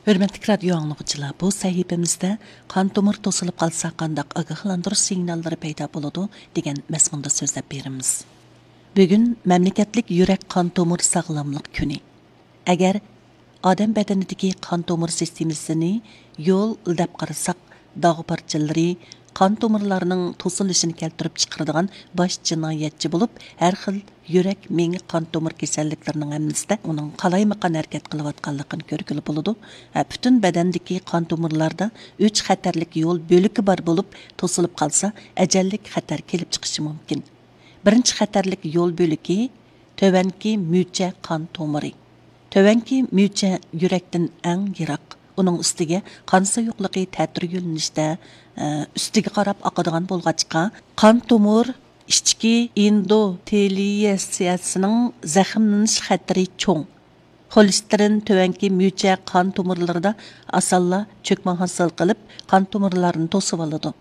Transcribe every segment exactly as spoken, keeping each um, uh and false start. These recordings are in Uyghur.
ھۆرمەتلىك رادىيو ئاڭلىغۇچىلار، بۇ سەھىپىمىزدە قان تومۇر توسۇلۇپ قالسا قانداق ئاگاھلاندۇرۇش سىگناللىرى پەيدا بولىدۇ دېگەن مەزمۇندا سۆزلەپ بېرىمىز. بۈگۈن مەملىكەتلىك يۈرەك قان تومۇر ساغلاملىق كۈنى. ئەگەر ئادەم بەدىنىدىكى قان تومۇر سىستېمىسىنى يول دەپ قارىساق، داغ پارچىلىرى قان تومۇرلارنىڭ توسۇلۇشىنى كەلتۈرۈپ چىقىرىدىغان باش جىنايەتچى بولۇپ، ھەر خىل يۈرەك، مېڭە، قان تومۇر كېسەللىكلىرىنىڭ ھەممىسىدە ئۇنىڭ قالايمىقان ھەرىكەت قىلىۋاتقانلىقىنى كۆرگىلى بولىدۇ. ھە، پۈتۈن بەدەندىكى قان تومۇرلاردا ئۈچ خەتەرلىك يول بۆلىكى بار بولۇپ، توسۇلۇپ قالسا، ئەجەللىك خەتەر كېلىپ چىقىشى مۇمكىن. بىرىنچى خەتەرلىك يول بۆلىكى تۆۋەنكى مۈچە قان تومۇرى. تۆۋەنكى مۈچە يۈرەكتىن ئەڭ يىراق. ئۇنىڭ ئۈستىگە قان سۇيۇقلۇقى تەتۈر يۆنىلىشتە، ئە، ئۈستىگە قاراپ ئاقىدىغان بولغاچقا، قان تومۇر ئىچكى ئېندوتېلىيەسىيەسىنىڭ زەخىملىنىش خەتىرى چوڭ. خولېستېرىن تۆۋەنكى مۈچە قان تومۇرلىرىدا ئاسانلا چۆكمە ھاسىل قىلىپ، قان تومۇرلارنى توسۇۋالىدۇ.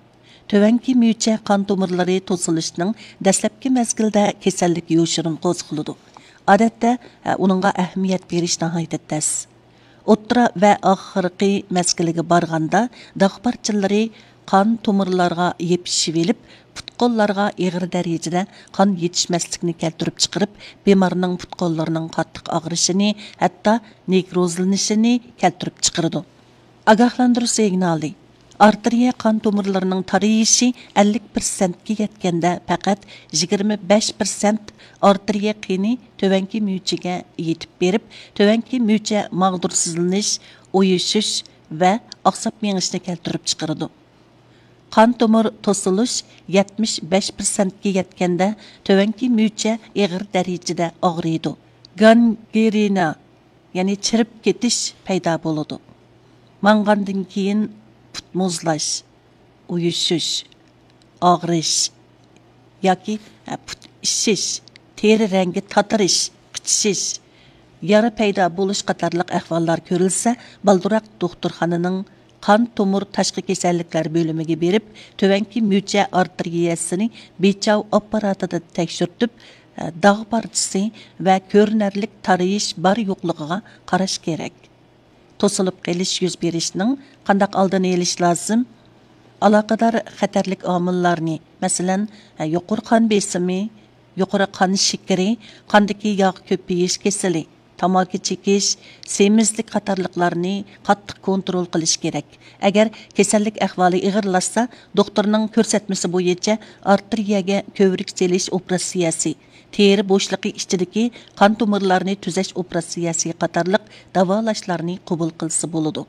تۆۋەنكى مۈچە قان تومۇرلىرى توسۇلۇشنىڭ دەسلەپكى مەزگىلدە كېسەللىك يوشۇرۇن قوزغىلىدۇ. ئادەتتە، ئە، ئۇنىڭغا ئەھمىيەت بېرىش ناھايىتى تەس. ئوتتۇرا ۋە ئاخىرقى مەزگىلىگە بارغاندا، داغ پارچىلىرى قان تومۇرلارغا يېپىشىۋېلىپ، پۇت-قوللارغا ئېغىر دەرىجىدە قان يېتىشمەسلىكنى كەلتۈرۈپ چىقىرىپ، بىمارنىڭ پۇت-قوللىرىنىڭ قاتتىق ئاغرىشىنى، ھەتتا نېكروزلىنىشىنى كەلتۈرۈپ چىقىرىدۇ. ئاگاھلاندۇرۇش سىگنالى. ئارتېرىيە قان تومۇرلىرىنىڭ تارىيىشى ئەللىك پىرسەنتكە يەتكەندە، پەقەت يىگىرمە بەش پىرسەنت ئارتېرىيە قېنى تۆۋەنكى مۈچىگە يېتىپ بېرىپ، تۆۋەنكى مۈچە ماغدۇرسىزلىنىش، ئۇيۇشۇش ۋە ئاقساپ مېڭىشنى كەلتۈرۈپ چىقىرىدۇ. قان تومۇر توسۇلۇش يەتمىش بەش پىرسەنتكە يەتكەندە، تۆۋەنكى مۈچە ئېغىر دەرىجىدە ئاغرىيدۇ. گانگرېنا، يەنى چىرىپ كېتىش پەيدا بولىدۇ. ماڭغاندىن كېيىن پۇت مۇزلاش، ئۇيۇشۇش، ئاغرىش ياكى، ھە، پۇت ئىششىش، تېرە رەڭگى تاتىرىش، قىچىشىش، يارا پەيدا بولۇش قاتارلىق ئەھۋاللار كۆرۈلسە، بالدۇرراق دوختۇرخانىنىڭ قان تومۇر تاشقى كېسەللىكلەر بۆلۈمىگە بېرىپ، تۆۋەنكى مۈچە ئارتېرىيەسىنى بىچاۋ ئاپپاراتىدا تەكشۈرتۈپ، داغ پارچىسى ۋە كۆرۈنەرلىك تارىيىش بار يوقلۇقىغا قاراش كېرەك. توسۇلۇپ قېلىش يۈز بېرىشنىڭ قانداق ئالدىنى ئېلىش لازىم؟ ئالاقىدار خەتەرلىك ئامىللارنى، مەسىلەن، يۇقىرى قان بېسىمى، يۇقىرى قان شېكىرى، قاندىكى ياغ كۆپىيىش كېسىلى، تاماكا چېكىش، سېمىزلىك قاتارلىقلارنى قاتتىق كونترول قىلىش كېرەك. ئەگەر كېسەللىك ئەھۋالى ئېغىرلاشسا، دوختۇرنىڭ كۆرسەتمىسى بويىچە ئارتېرىيەگە كۆۋرۈك سېلىش ئوپېراتسىيەسى، تېرە بوشلۇقى ئىچىدىكى قان تومۇرلارنى تۈزەش ئوپېراتسىيەسى قاتارلىق داۋالاشلارنى قوبۇل قىلسا بولىدۇ.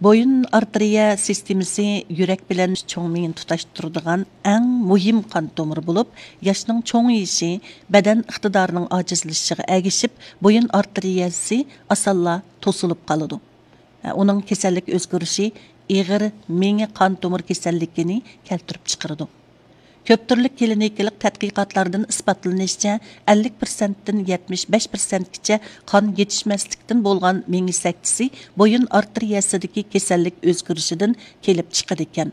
بويۇن ئارتېرىيە سىستېمىسى يۈرەك بىلەن چوڭ مېڭىنى تۇتاشتۇرىدىغان ئەڭ مۇھىم قان تومۇرى بولۇپ، ياشنىڭ چوڭىيىشى، بەدەن ئىقتىدارىنىڭ ئاجىزلىشىشىغا ئەگىشىپ، بويۇن ئارتېرىيەسى ئاسانلا توسۇلۇپ قالىدۇ. ئۇنىڭ كېسەللىك ئۆزگىرىشى ئېغىر مېڭە قان تومۇر كېسەللىكىنى كەلتۈرۈپ چىقىرىدۇ. كۆپ تۈرلۈك كلىنىكىلىق تەتقىقاتلاردىن ئىسپاتلىنىشىچە، ئەللىك پىرسەنتتىن يەتمىش بەش پىرسەنتكىچە قان يېتىشمەسلىكتىن بولغان مېڭە سەكتىسى بويۇن ئارتېرىيەسىدىكى كېسەللىك ئۆزگىرىشىدىن كېلىپ چىقىدىكەن.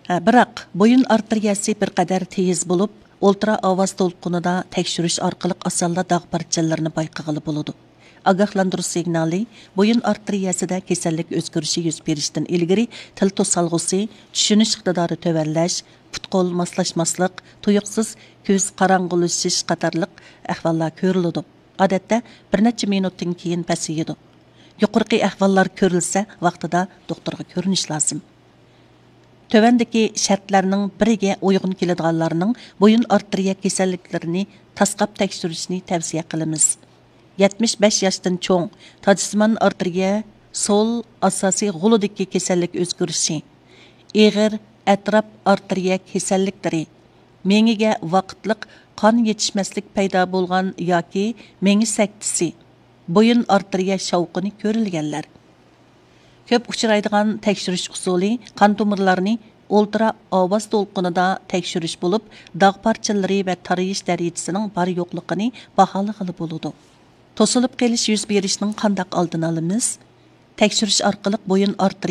ھە، بىراق، بويۇن ئارتېرىيەسى بىر قەدەر تېيىز بولۇپ، ئولترا ئاۋاز دولقۇنىدا تەكشۈرۈش ئارقىلىق ئاسانلا داغ پارچىلىرىنى بايقىغىلى بولىدۇ. ئاگاھلاندۇرۇش سىگنالى، بويۇن ئارتېرىيەسىدە كېسەللىك ئۆزگىرىشى يۈز بېرىشتىن ئىلگىرى تىل توسالغۇسى، چۈشىنىش ئىقتىدارى تۆۋەنلەش، پۇت-قول ماسلاشماسلىق، تۇيۇقسىز كۆز قاراڭغۇلىشىش قاتارلىق ئەھۋاللار كۆرۈلىدۇ. ئادەتتە بىر نەچچە مىنۇتتىن كېيىن پەسىيىدۇ. يۇقىرىقى ئەھۋاللار كۆرۈلسە، ۋاقتىدا دوختۇرغا كۆرۈنۈش لازىم. تۆۋەندىكى شەرتلەرنىڭ بىرىگە ئۇيغۇن كېلىدىغانلارنىڭ بويۇن ئارتېرىيە كېسەللىكلىرىنى تاسقاپ تەكشۈرۈشنى تەۋسىيە قىلىمىز. يەتمىش بەش ياشتىن چوڭ، تاجسىمان ئارتېرىيە سول ئاساسىي غولىدىكى كېسەللىك ئۆزگىرىشى، ئېغىر ئەتراپ ئارتېرىيە كېسەللىكلىرى، مېڭىگە ۋاقىتلىق قان يېتىشمەسلىك پەيدا بولغان ياكى مېڭە سەكتىسى، بويۇن ئارتېرىيە شاۋقۇنى كۆرۈلگەنلەر. كۆپ ئۇچرايدىغان تەكشۈرۈش ئۇسۇلى قان تومۇرلارنى ئولترا ئاۋاز دولقۇنىدا تەكشۈرۈش بولۇپ، داغ پارچىلىرى ۋە تارىيىش دەرىجىسىنىڭ بار يوقلۇقىنى باھالىغىلى بولىدۇ. توسۇلۇپ قېلىش يۈز بېرىشنىڭ قانداق ئالدىنى ئالىمىز؟ تەكشۈرۈش ئارقىلىق بويۇن ئارتېرىيە